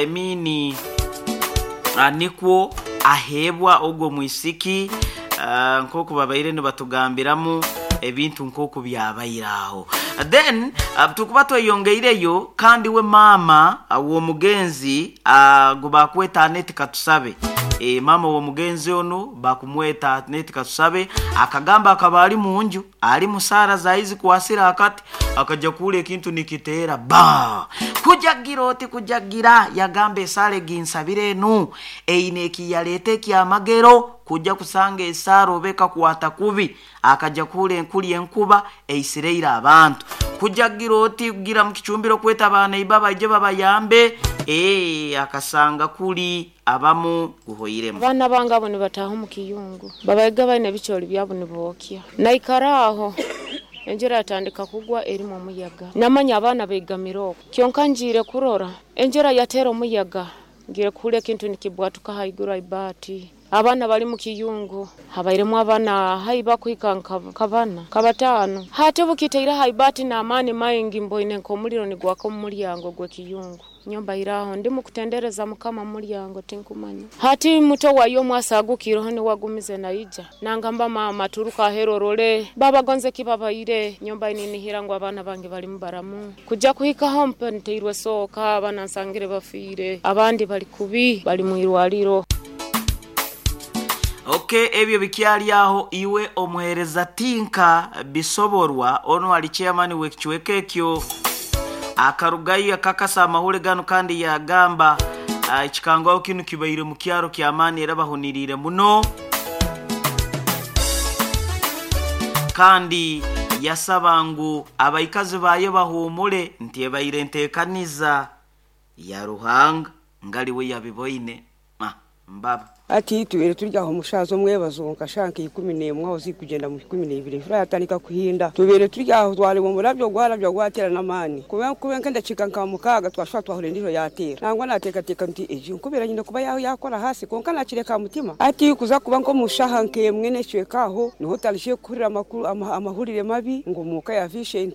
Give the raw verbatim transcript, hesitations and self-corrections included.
Emini uh, nikwo aheebwa ogwo mwisiki uh, nk'oku babaire nibatugambiramu ebintu nk'oku byabaire aho. Then uh, tukuba tweyongeireyo, kandi we maama uh, w'omugenzi uh, gu bakweta Aneti Katusabe. e, maama w'omugenzi ono bakumweta Aneti Katusabe, akagamba akaba ali munju ali musaara zaizi kwasira akati, akaja kuula ekintu nikiteera ba kujagira oti kujagira. Yagamba, "Esaala eginsabire enu eine ekiyaleeta ekyamagero." Kujja kusanga esaara oba ekakwata kubi, akaja kuhura enkuli enkuba eisireire abantu, kujagira oti kugira mu kicumbiro kweta abaana baije babayambe. ee akasanga kuli abamu guhoiremu. Abaana bange abo nibataaha omu kiyungu, babayiga baine ebicoori byabo nibookya. Naikara aho, enjura yatandika kugwa erimu omuyaga, namanya abaana beigamire okwo. Kyonka ngiire kurora enjura yateera omuyaga, ngiire kuhurra ekintu nikibwatuka haiguru haibaati. Abaana bali mu kiyungu, habairemu abaana hai bakuhika nka bana nka bataano. Hati bukiteire haibaati n'amaani maingi, mboine nk'omuliro nigwaka omu mulyango gw'ekiyungu. Nyombaire aho ndimu kutendereza Mukama mu mulyango, tinkumanya. Hati muto wayo omwasagukireho niwe agumize naija nangamba, "Maama, turuka aheru orole baba gonze kibabaire." Nyomba ninihira ngu abaana bange balimu baramu. Kujja kuhikaho mpe nteirwe sooka, abaana nsangire bafiire, abandi bali kubi, bali mu irwaliro. Ok, ebyo bikyali aho. Iwe omuheereza Tinka Bisoborwa, ono ali chairman w'ekicweka ekyo, akarugayo akakasa amahule gano, kandi yagamba uh, ekikangaho kinu kibaire mu kyaro kyamaani era bahuniriire muno, kandi yasaba ngu abaikazi bayo bahuumule nti ebaire enteekaniza ya Ruhanga ngaliwe yabiboine. Ah, mbaba. Ati tubaire turi aho omushaza omwebazo nka shaaha nka ikumi n'emwe aho zikugenda mu ikumi n'ibiri, enjura yatandika kuhinda. Tubaire turi aho, twareba omurabyo gwarabya gwatera n'amaani, kuba kuba nk'endakiika nka mukaaga twashusha twahurira endijo yateera. Nangwa nateekateeka nti egi nkubira nyine kuba yaho yakora hasi, konka nakireka aha mutima. Ati kuza kuba nk'omu shaaha nk'emwe n'ekicweka aho niho tutandikire kuhurira amakuru ama- amahurire mabi ngu omuka ya Vincent.